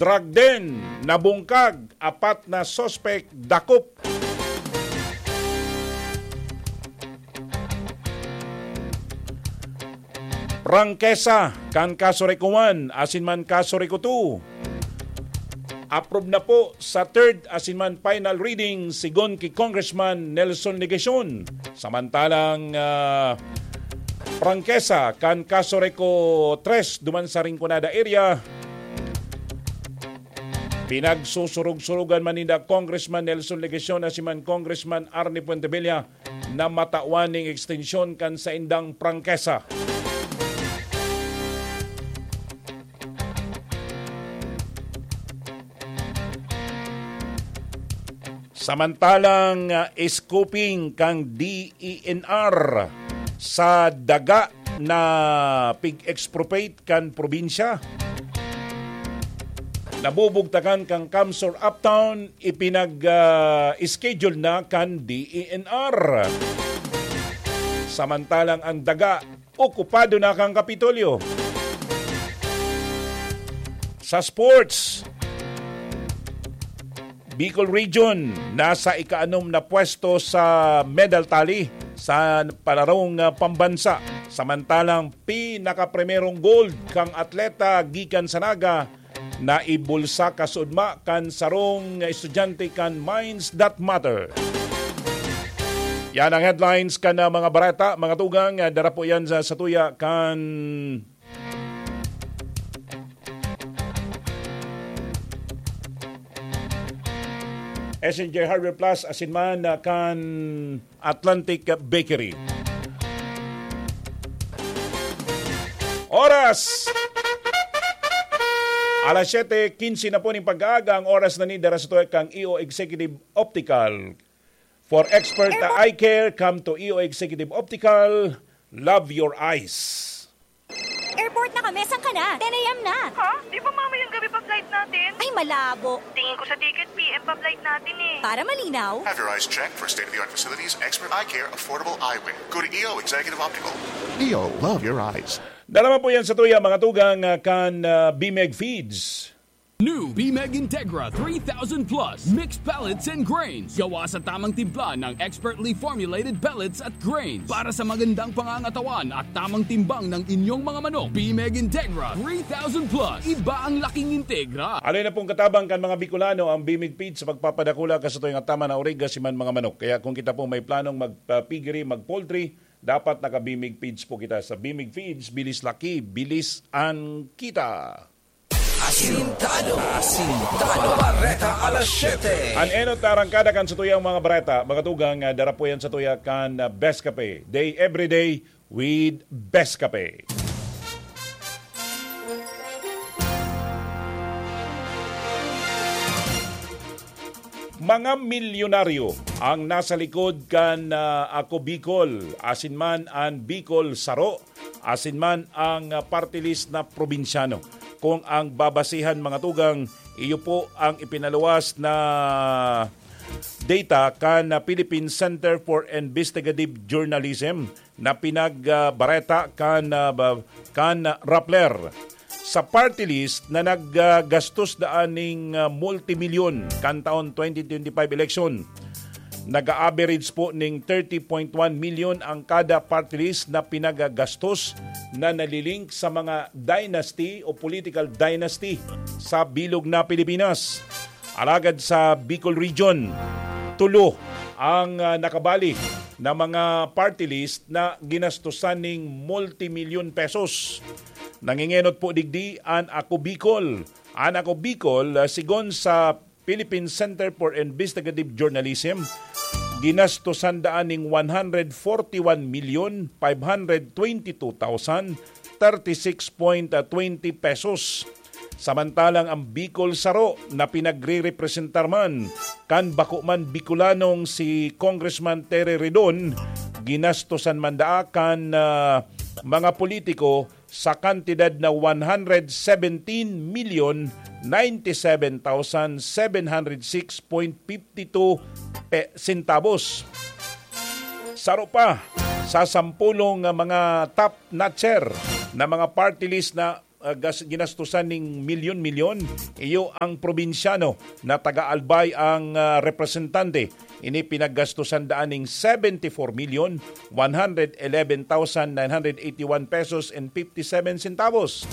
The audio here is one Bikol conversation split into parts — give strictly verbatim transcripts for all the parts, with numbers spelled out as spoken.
Drug den, nabungkag, apat na suspek dakop. Prangkesa kan Casureco one asin man Casureco two. Approve na po sa third asin man final reading, sigon ki Congressman Nelson Legacion. Samantalang, ah, prangkesa kan Casureco tres duman sa Rinconada area, pinagsusurog-surugan man ninda Congressman Nelson Legacion asin man Congressman Arnie Fuentebella na matawan ning ekstensyon kan saindang prangkesa. Samantalang, ah, scoping kan D E N R sa daga na pig-expropriate kan probinsya, nabubugtakan kan CamSur Uptown, ipinag, ah, schedule na kan D E N R. Samantalang ang daga, okupado na kan Kapitolyo. Sa sports, Bicol Region nasa ikaanom na pwesto sa medal tally sa palarong, ah, pambansa. Samantalang pinakaprimerong gold kang atleta gikan sa Naga na ibulsa kasudma kan sarong estudyante kan Minds That Matter. Yan ang headlines kan, ah, mga bareta, mga tugang. Ah, dara po yan sa, sa tuya kan S N J Hardware Plus, asin man, ah, kan Atlantic Bakery. Oras! Alas siyete quince na po ning pag-aaga. Ang oras na ni dara sa tuya kang E O Executive Optical. For expert na eye care, come to E O Executive Optical. Love your eyes. Airport na kami, saan ka na? Ten a m na. Ha? Di ba mamayang gabi pa flight natin? Ay, malabo. Tingin ko sa ticket, P M pa flight natin eh. Para malinaw. Have your eyes checked for state-of-the-art facilities, expert eye care, affordable eyewear. Go to E O Executive Optical. E O, love your eyes. Dara man po yan sa tuya, mga tugang, ah, kan, ah, Bimeg Feeds. New Bimeg Integra three thousand Plus Mixed Pellets and Grains. Gawa sa tamang timpla ng expertly formulated pellets at grains para sa magandang pangangatawan at tamang timbang ng inyong mga manok. Bimeg Integra three thousand Plus. Iba ang laking Integra. Alay na pong katabang kan mga Bicolano ang Bimeg Feeds sa pagpapadakula kan satuya nga tama na origa si man mga manok. Kaya kung kita po may planong magpa-piggery, mag-poultry, dapat naka-Bimeg Feeds po kita. Sa Bimeg Feeds, bilis laki, bilis an kita. Asintado. Asintado. Bareta alas siyete. An enot na arangkada kan satuyang mga bareta, mga tugang, ah, dara po yan satuya kan, ah, Best Cafe. Day every day with Best Cafe. Mga milyonaryo ang nasa likod kan, ah, Ako Bicol, asin man an Bicol Saro, asin man ang, ah, party list na probinsyano. Kung ang babasihan, mga tugang, iyo po ang ipinaluwas na data kan, ah, Philippine Center for Investigative Journalism na pinag, ah, bareta kan, ah, ba-, kan, ah, Rappler. Sa party list na naggastos daan ning, ah, multimilyon kan taon twenty twenty-five election, nag-a-average po ning thirty point one million ang kada party list na pinagagastos na nalilink sa mga dynasty o political dynasty sa bilog na Pilipinas. Alagad sa Bicol Region, tulo ang, ah, nakabali na mga party list na ginastusan ning multimilyon pesos. Nangingenot po digdi an Ako Bicol. An Ako Bicol, ah, sigon sa Philippine Center for Investigative Journalism, ginastusan daan ning one hundred forty-one million five hundred twenty-two thousand thirty-six point twenty pesos. Samantalang ang Bicol Saro na pinagrerepresentar man kan bako man Bicolanong si Congressman Terry Ridon, ginastusan man daa kan, ah, mga politiko sa kantidad na one hundred seventeen million ninety-seven thousand seven hundred six point fifty two pe-, centavos. Saro pa sa sampulong mga top notcher na mga party list na ah, gas-, ginastusan ning milyon-milyon, iyo ang probinsyano na taga Albay ang, ah, representante. Ini pinaggastusan daan ning seventy four million one hundred eleven thousand nine hundred eighty one pesos and fifty seven centavos.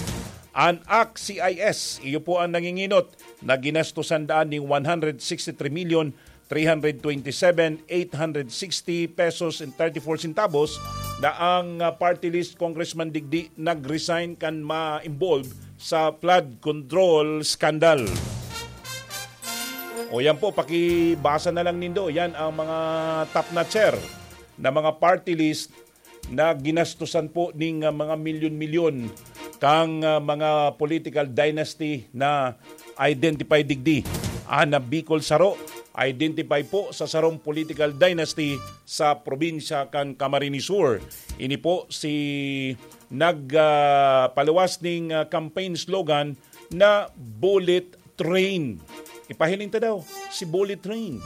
An A C C I S, iyo po ang nanginginot na ginastusan daan ning one hundred sixty three million three hundred twenty seven eight hundred sixty pesos and thirty four centavos na ang, ah, party list congressman digdi nag-resign kan ma-involve sa flood control scandal. O yan po, pakibasa na lang nindo. Yan ang mga top notcher na mga party list na ginastusan po ning, ah, mga milyon-milyon kang, ah, mga political dynasty na identified digdi. An Bicol Saro, identify po sa sarong political dynasty sa probinsya kan Camarines Sur. Ini po si nag, ah, paluwas ning, ah, campaign slogan na Bullet Train. Ipahiling ta daw, si Bullet Train.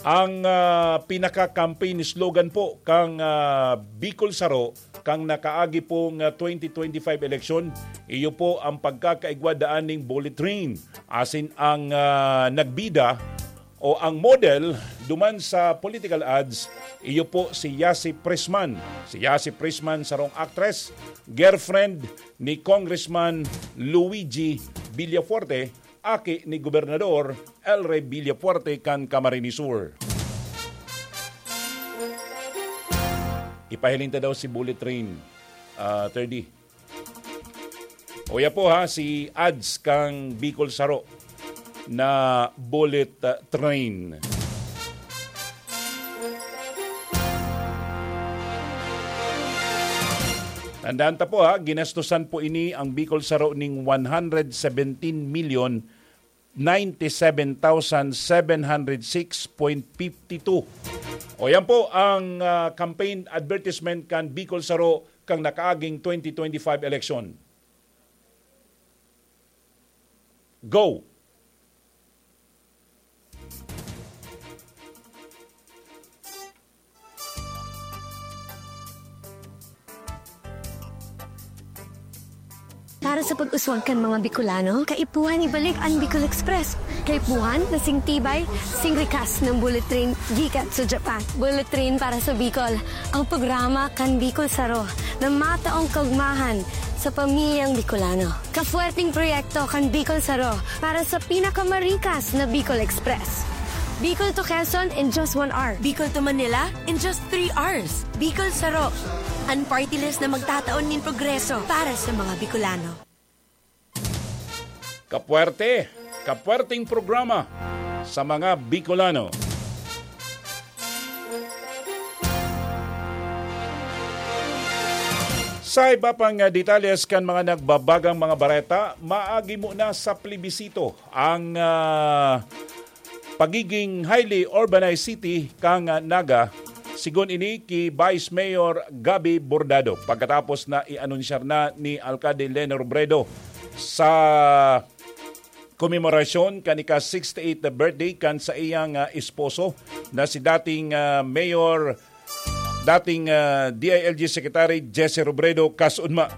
Ang, ah, pinaka-campaign slogan po kang, ah, Bicol Saro, kang nakaagi pong, ah, twenty twenty-five eleksyon, iyo po ang pagkakaigwa daan ning Bullet Train. Asin ang, ah, nagbida o ang model duman sa political ads, iyo po si Yasi Prisman. Si Yasi Prisman, sarong actress, girlfriend ni Congressman Luigi Villafuerte, aki ni Gobernador El Rey Villafuerte kan Camarines Sur. Ipahiling ta daw si Bullet Train, ah, thirty. Uya po ha, si ads kang Bicol Saro na Bullet, ah, Train. Tandaan ta po ha, ginastusan po ini ang Bicol Saro ning one hundred seventeen million ninety-seven thousand seven hundred six point fifty two. O yan po ang, ah, campaign advertisement kan Bicol Saro kang nakaaging twenty twenty-five election. Go! Para sa pag-uswag kan mga Bicolano, kaipuhan ibalik an Bicol Express. Kaipuhan na sing tibay, sing rikas ng bullet train gikan sa Japan. Bullet train para sa Bicol, ang programa kan Bicol Saro na mataong kaugmahan sa pamilyang Bicolano. Kafuerteng proyekto kan Bicol Saro para sa pinakamarikas na Bicol Express. Bicol to Quezon in just one hour. Bicol to Manila in just three hours. Bicol Saro, an party list na magtataon nin progreso para sa mga Bicolano. Kapwerte, kapwerteng programa sa mga Bicolano. Sa iba pang, ah, detalles kan mga nagbabagang mga bareta, maagi mo na sa plebisito ang, ah, pagiging highly urbanized city kan, ah, Naga, sigon ini ki Vice Mayor Gabby Bordado, pagkatapos na i-anunsyar na ni Alcalde Leni Robredo sa komemorasyon kan ika-sixty-eighth birthday kan saiyang, ah, esposo na si dating, ah, Mayor, dating, ah, D I L G Secretary Jesse Robredo. Kasunma,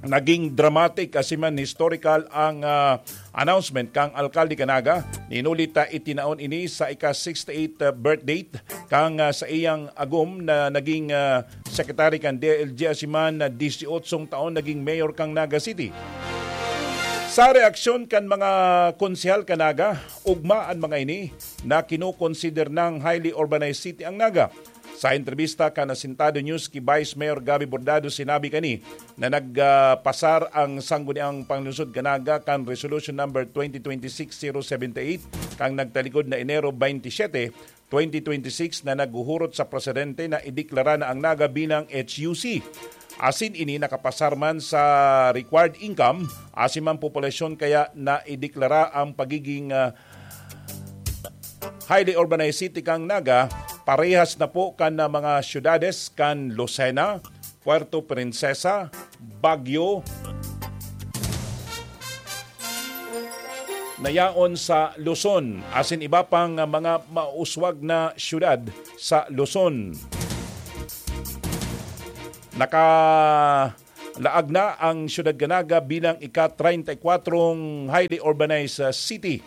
naging dramatic asin man historical ang, ah, announcement kang alkalde kan Naga. Ninuli ta itinaon ini sa ika-sixty-eighth birthday kang, ah, saiyang agom na naging, ah, secretary kan D I L G asin man na disiyotsong taon naging mayor kang Naga City. Sa reaksyon kan mga konsehal kan Naga, ugma an mga ini na kinokonsider nang highly urbanized city ang Naga. Sa entrebista kan Asintado News ki Vice Mayor Gabby Bordado, sinabi kani na nagpasar ang Sangguniang Panglungsod kan Naga kan Resolution Number twenty twenty-six zero seventy-eight kang nagtalikod na Enero twenty-seven, twenty twenty-six na naghuhurot sa presidente na ideklara na ang Naga bilang H U C. Asin ini nakapasar man sa required income, asin man populasyon kaya na ideklara ang pagiging, ah, highly urbanized city kang Naga, parehas na po kan, ah, mga syudades kan Lucena, Puerto Princesa, Baguio, na yaon sa Luzon, asin iba pang, ah, mga mauswag na syudad sa Luzon. Naka-, Laag na ang siyudad kan Naga bilang ika-treinta y kuwatrong highly urbanized, ah, city.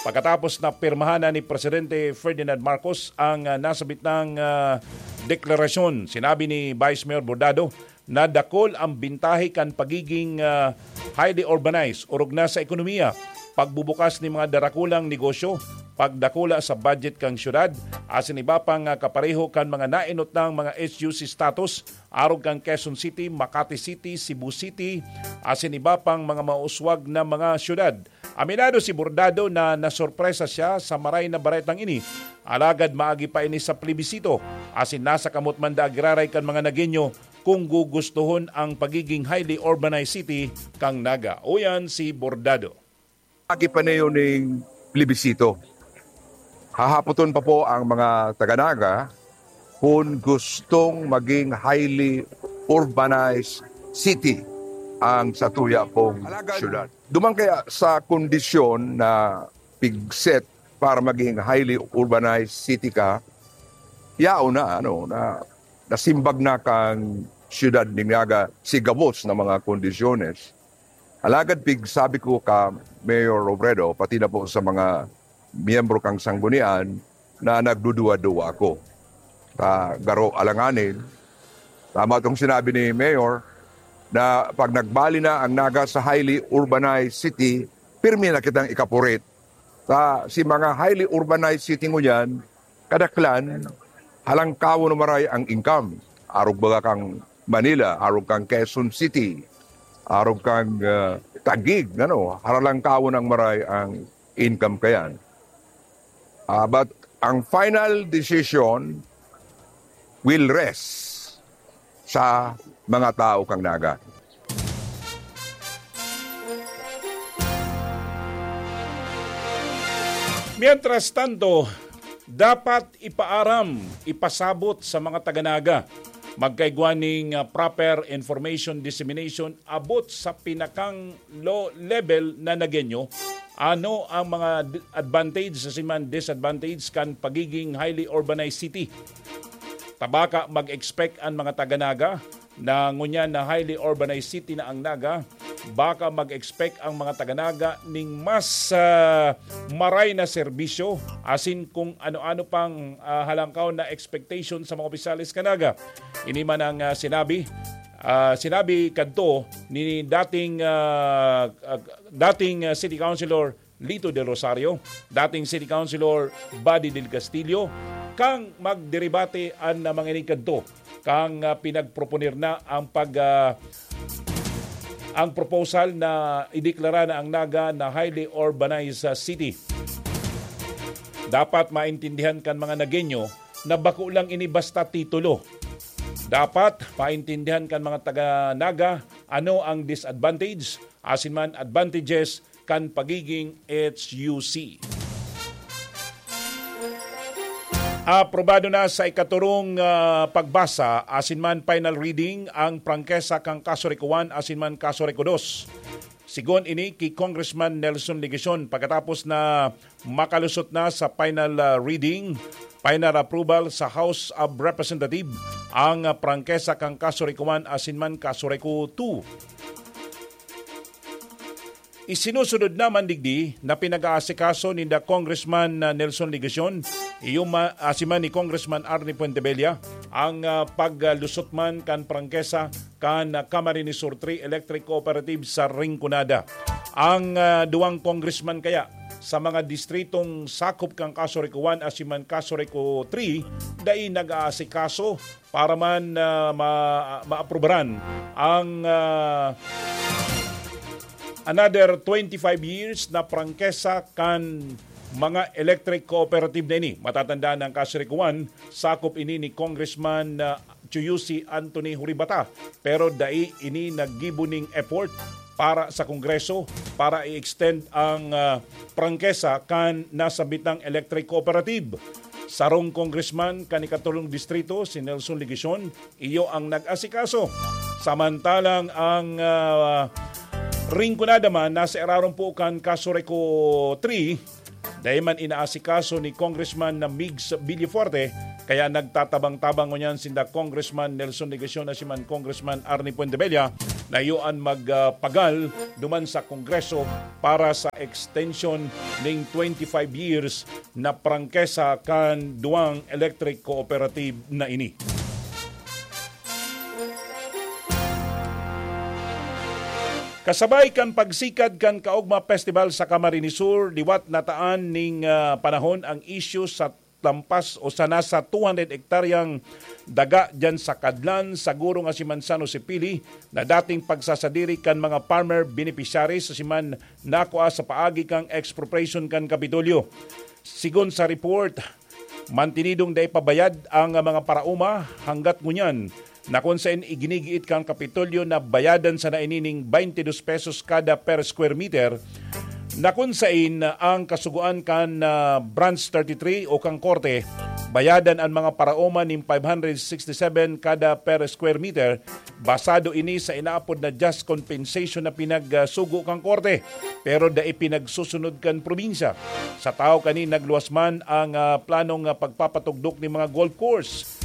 Pagkatapos na pirmahan na ni Presidente Ferdinand Marcos ang, ah, nasabit nang, ah, deklarasyon, sinabi ni Vice Mayor Bordado na dakul ang bintahe kan pagiging, ah, highly urbanized, orog na sa ekonomiya, pagbubukas ni mga darakulang negosyo, pagdakula sa budget kan siyudad, asin iba pang, ah, kapareho kan mga naenot nang mga S U C status, arog kan Quezon City, Makati City, Cebu City, asin iba pang mga mauswag na mga syudad. Aminado si Bordado na nasorpresa siya sa maray na baretang ini, alagad maagi pa ini sa plebisito, asin nasa kamot man daa giraray kan mga Nagueño kung gugustuhon ang pagiging highly urbanized city kan Naga. Uyan si Bordado. Agi pa niyo ning plebisito. Hahapoton pa po ang mga taga-Naga kung gustong maging highly urbanized city ang satuya pong syudad. Duman kaya sa kondisyon na pigset para maging highly urbanized city ka, yaon na, ano, na nasimbag na kang syudad ning Naga si gabos na mga kondisyones. Alagad pig sabi ko ka Mayor Robredo, pati na po sa mga miyembro kang sanggunian na nagduduwa-duwa ako. Ta, garo alanganin, tama tong sinabi ni Mayor, na pag nagbali na ang Naga sa highly urbanized city, pirmi na kitang ikapurit. Ta, si mga highly urbanized city ngunyan, kadaklan, halangkawon na maray ang income. Arog baga kang Manila, arog kang Quezon City, arog kang, ah, Taguig, ano, haralangkawon ang maray ang income kayan. Ah, but ang final decision will rest sa mga tao kang Naga. Mientras tanto, dapat ipaaram, ipasabot sa mga taga-Naga, magkaigwa ning, ah, proper information dissemination abot sa pinakang low level na Nagueño, ano ang mga d-, advantage asin man disadvantage kan pagiging highly urbanized city. Ta baka mag-expect an mga taga-Naga na ngunyan na highly urbanized city na ang Naga, baka mag-expect ang mga taga-Naga ning mas, ah, maray na serbisyo, asin kung ano-ano pang, ah, halangkaw na expectation sa mga opisyales kan Naga. Ini man ang, ah, sinabi, ah, sinabi kadto ni dating, ah, ah, dating, ah, City Councilor Lito Del Rosario, dating City Councilor Buddy Del Castillo, kan magderebate an, ah, mga ini kadto, kan, ah, pinagproponer na ang pag, ah, ang proposal na ideklara na ang Naga na highly urbanized, ah, city. Dapat maintindihan kan mga Nagueño na bako lang ini basta titulo. Dapat maintindihan kan mga taga Naga ano ang disadvantage asin man advantages kan pagiging H U C. Aprobado na sa ikaturong, ah, pagbasa asin man final reading ang prangkesa kan Kaso Rico one asin man Kaso Rico two. Sigon ini ki Congressman Nelson Legacion, pagkatapos na makalusot na sa final, ah, reading, final approval sa House of Representative ang, ah, prangkesa kan Kaso Rico one asin man Kaso Rico two. Isinusunod naman digdi na pinag-aasikaso ninda Congressman, ah, Nelson Legacion, iyo ma-, asin man ni Congressman Arnie Fuentebella ang, ah, paglusot man kan prangkesa kan, ah, Camarines Sur three Electric Cooperative sa Rinconada. Ang, ah, duwang congressman kaya sa mga distritong sakop kan Kaso Rico one asin man Kaso Rico three, dai nag-aasikaso para man, ah, ma-, maaprubaran ang, ah, another twenty-five years na prangkesa kan mga electric cooperative na ini. Matatandaan ang Kaso Rico one, sakop ini ni Congressman, ah, Chuyusi Anthony Huribata, pero dai ini naggibo ning effort para sa Kongreso para i-extend ang, ah, prangkesa kan nasabitang electric cooperative. Sarong congressman kan ikatulong distrito, si Nelson Legacion, iyo ang nag-asikaso. Samantalang ang, ah, Rinconada man nasa irarom po kan Kaso Rico three, Dai man inaasikaso ni Congressman na Migs Villafuerte, kaya nagtatabang-tabang ngunyan sinda Congressman Nelson Legacion na si man Congressman Arnie Fuentebella na iyo an magpagal duman sa Kongreso para sa extension ning twenty-five years na prangkesa kan duwang electric cooperative na ini. Kasabay kan pagsikad kan Kaogma Festival sa Camarines Sur, liwat na taan ning, ah, panahon ang isyu sa lampas o sa nasa two hundred hektaryang daga diyan sa Kadlan, Sagurong asin Manzano, Sipili, na dating pagsasadiri kan mga farmer beneficiaries asin man nakua sa paagi kan expropriation kan Kapitolyo. Sigon sa report, mantinidong dai pa bayad ang mga paraoma hanggat ngunyan, na kun saen iginigiit kan Kapitolyo na bayadan sana ini ning twenty-two pesos kada per square meter, na kun saen ang kasugoan kan, ah, Branch thirty-three o kan Korte, bayadan an mga paraoma nin five hundred sixty-seven kada per square meter. Basado ini sa inaapod na just compensation na pinagsugo kan Korte, pero dai pinagsusunod kan probinsya. Sa tahaw kani, nagluwas man ang, ah, planong, ah, pagpapatugdok nin mga golf course.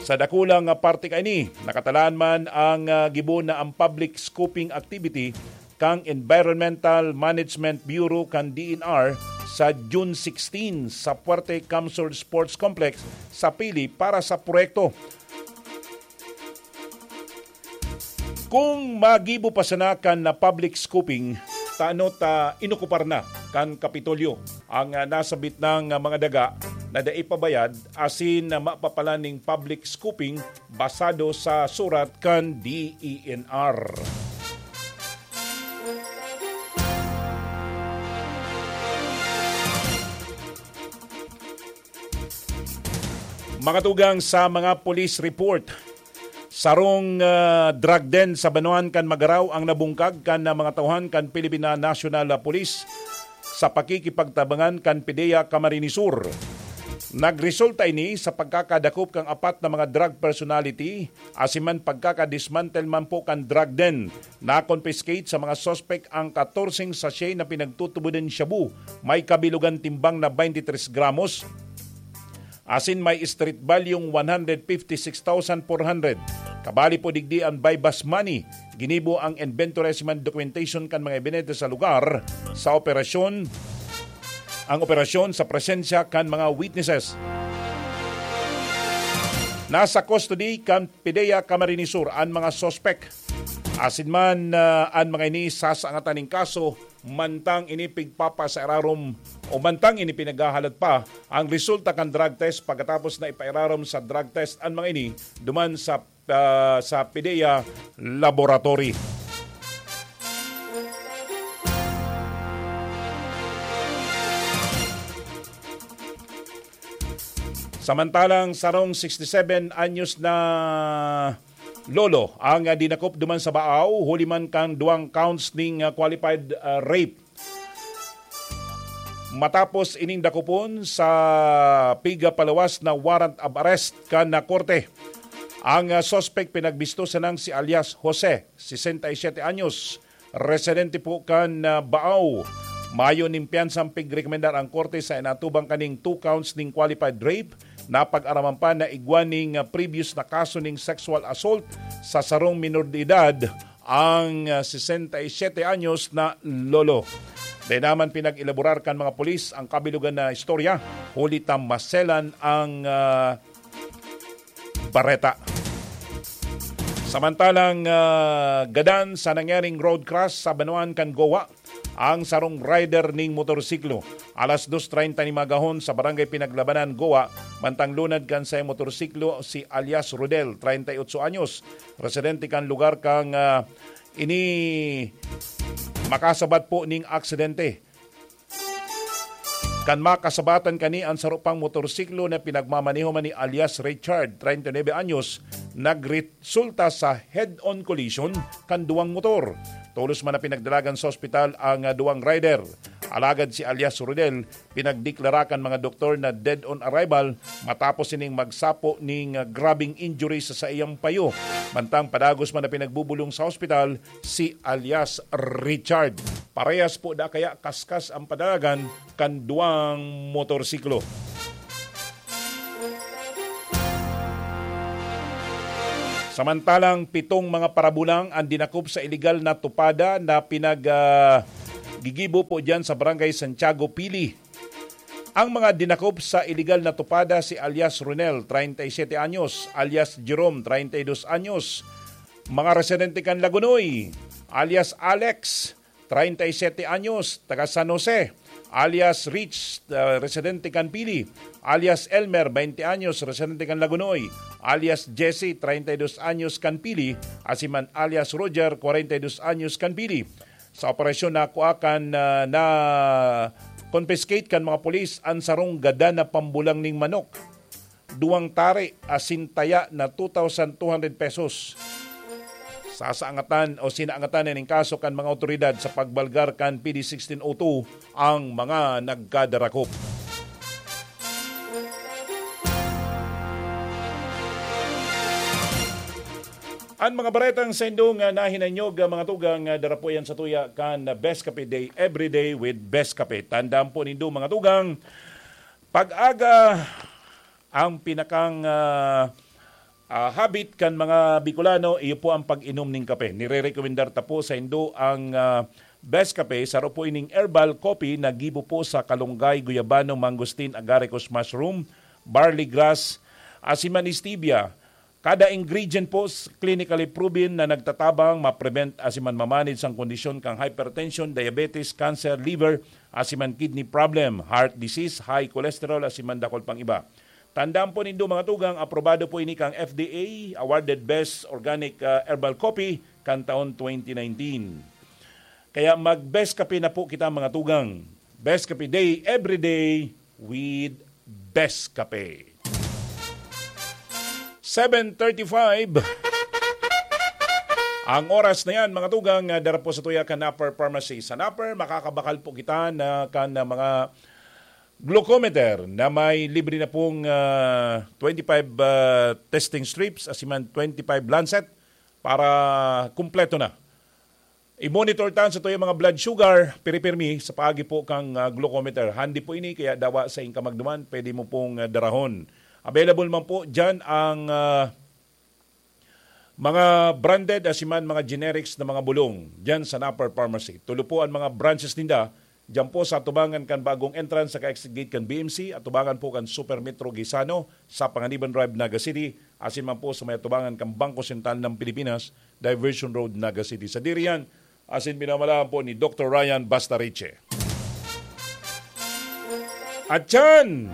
Sa dakulang, ah, parte kaini, nakatalaan man ang, ah, gibo na ang public scoping activity kan Environmental Management Bureau kan D N R sa June sixteen sa Fuerte Camsur Sports Complex sa Pili para sa proyekto. Kung magibo pa sana kan na public scoping, tano ta inokupar na kan Kapitolyo ang, ah, nasabit nang, ah, mga daga na dai pa bayad asin na mapapalan ning public scoping basado sa surat kan D E N R. Mga tugang, sa mga police report, sarong, ah, drug den sa banwaan kan Magarao ang nabungkag kan, ah, mga tauhan kan Philippine National Police sa pakikipagtabangan kan PDEA Camarines Sur. Nagresulta ini sa pagkakadakop kan apat na mga drug personality asin man pagkakadismantle man po kan drug den. Na-confiscate sa mga suspek ang katorseng sachet na pinagtutubodan shabu, may kabilugan timbang na twenty-three gramos, asin may street value one hundred fifty-six thousand four hundred. Kabali po digdi ang buy-bust money. Ginibo ang inventory asin man documentation kan mga ebidente sa lugar sa operasyon, ang operasyon sa presensya kan mga witnesses. Nasa custody kan PDEA Camarines Sur an mga suspek. Asin man, ah, an mga ini sasaangatan nin kaso, mantang ini pigpapa sa irarom o mantang ini pinaghahalat pa ang resulta kan drug test pagkatapos na ipairarom sa drug test an mga ini duman sa, ah, sa PDEA laboratory. Samantalang sarong sixty-seven anyos na lolo ang, ah, dinakop duman sa Baao, huli man kan duwang counts ning, ah, qualified, ah, rape. Matapos ining dakopon sa pigpalawas na warrant of arrest kan na korte, ang, ah, suspek pinagbisto sanang si alias Jose, sesenta y siete anyos, residente po kan, ah, Baao. Mayo nin piyansang pigrekomendar ang korte sa inatubang kaning two counts ning qualified rape. Napag-araman pa na igwa ning, ah, previous na kaso ning sexual assault sa sarong minor de edad ang, ah, sesenta y siete anyos na lolo. Dai naman pinag-elaborar kan mga pulis ang kabilugan na istorya, huli ta maselan ang, ah, bareta. Samantalang, ah, gadan sa nangyaring road crash sa banwaan kan Goa ang sarong rider ning motorsiklo. Alas dos treinta nin magahon sa Barangay Pinaglabanan, Goa, mantang lunad kan saiyang motorsiklo si alias Rodel, treinta y ocho anyos, residente kan lugar kan, ah, ini makasabat po ning aksidente. Kan makasabatan kani an saro pang motorsiklo na pinagmamaneho man ni alias Richard, treinta y nuebe anyos, nagresulta sa head-on collision kan duwang motor. Tolos man na pinagdalagan sa ospital ang, ah, duwang rider. Alagad si alias Rodel, pinagdeklara kan mga doktor na dead on arrival matapos sining magsapo ning, ah, grabeng injury sa saiyang payo. Mantang padagos man na pinagbubulong sa ospital si alias Richard. Parehas po da kaya kaskas ang padalagan kan duwang motorsiklo. Samantalang pitong mga parabulang ang dinakop sa iligal na tupada na pinag, ah, gigibo po diyan sa Barangay Santiago, Pili. Ang mga dinakop sa iligal na tupada si alias Ronel, treinta y siete anyos, alias Jerome, treinta y dos anyos, mga residente kan Lagonoy, alias Alex, treinta y siete anyos, taga San Jose, alias Rich, ah, residente kan Pili, alias Elmer, veinte anyos, residente kan Lagonoy, alias Jesse, treinta y dos anyos, kan Pili, asiman alias Roger, cuarenta y dos anyos, kan Pili. Sa operasyon na kuha kan, ah, na confiscate kan mga pulis ang sarong gada na pambulang ning manok, duwang tari asin taya na two thousand two hundred pesos. Sasaangatan o sinaangatan na ning kaso kan mga awtoridad sa pagbalgar kan P D sixteen oh two ang mga nagkadarakop. Ang mga baretang saindo nga nahinanyog, ah, mga tugang, ah, dara po yan sa tuya kan Best Kape Day, Every Day with Best Kape. Tandaan po nindo, mga tugang, pag-aga ang pinakang, ah, ah, habit kan mga Bicolano, iyo po ang pag-inom ning kape. Nire-rekomendar ta po saindo ang, ah, Best Kape, saro po ining herbal coffee na gibo po sa kalunggay, guyabano, mangosteen, agaricus mushroom, barley grass, asin man stevia. Kada ingredient po s-, clinically proven na nagtatabang, ma-prevent asin man ma-manage ang kondisyon kang hypertension, diabetes, cancer, liver, asin man kidney problem, heart disease, high cholesterol, asin man dakul pang iba. Tandaan po nindo, mga tugang, aprobado po ini kang F D A, awarded Best Organic, ah, Herbal Coffee kan taon twenty nineteen. Kaya mag-Best Kape na po kita, mga tugang. Best Kape Day, every day with Best Kape. Seven thirty-five. Ang oras na yan, mga tugang, ah, dara po sa tuya kan Napper Pharmacy. Sa Napper, makakabakal po kita na kan, ah, mga glucometer na may libre na pong, ah, twenty-five, ah, testing strips, asin man twenty-five lancet para kumpleto na. I-monitor tan sa tuyo mga blood sugar, piripirmi sa paagi po kang, ah, glucometer. Handy po ini, kaya dawa sa inka magduman, pwede mo pong, ah, darahon. Available man po dyan ang, ah, mga branded, asin man mga generics na mga bulong dyan sa Napper Pharmacy. Tulo po ang mga branches ninda dyan po sa atubangan kan bagong entrance sa ka-exit gate kan B M C, atubangan po kan Super Metro Gaisano sa Panganiban Drive, Naga City, asin man po sa may atubangan kan Bangko Sentral ng Pilipinas, Diversion Road, Naga City. Sadiri yan, asin pinamalaan po ni Doktor Ryan Bastariche. At yan,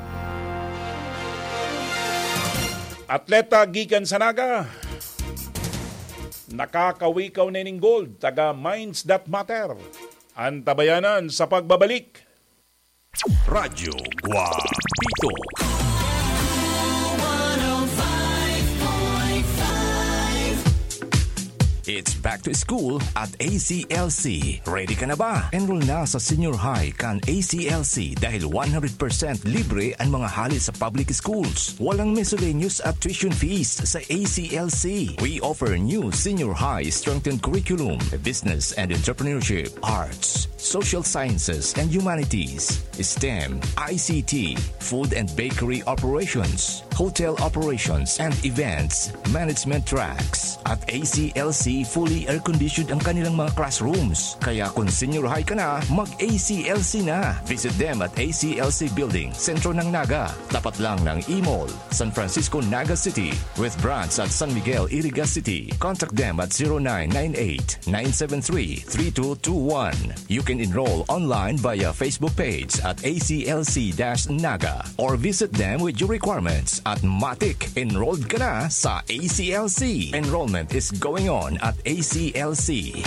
atleta gikan sa Naga, nakakawikaw na ning gold, taga Minds That Matter. Antabayanan sa pagbabalik. Radyo Guapito. It's back to school at A C L C. Ready ka na ba? Enroll na sa senior high kan A C L C dahil one hundred percent libre ang mga hali sa public schools. Walang miscellaneous at tuition fees sa A C L C. We offer new senior high strengthened curriculum, business and entrepreneurship, arts, social sciences and humanities, STEM, I C T, food and bakery operations, hotel operations and events management tracks. At A C L C, fully air-conditioned ang kanilang mga classrooms. Kaya kung senior high ka na, mag-A C L C na. Visit them at A C L C Building, sentro ng Naga, tapat lang ng E-Mall, San Francisco, Naga City, with branch at San Miguel, Iriga City. Contact them at zero nine nine eight, nine seven three, three two two one. You can enroll online via Facebook page at A C L C dash Naga or visit them with your requirements at matik, enrolled ka na sa A C L C. Enrollment is going on at A C L C.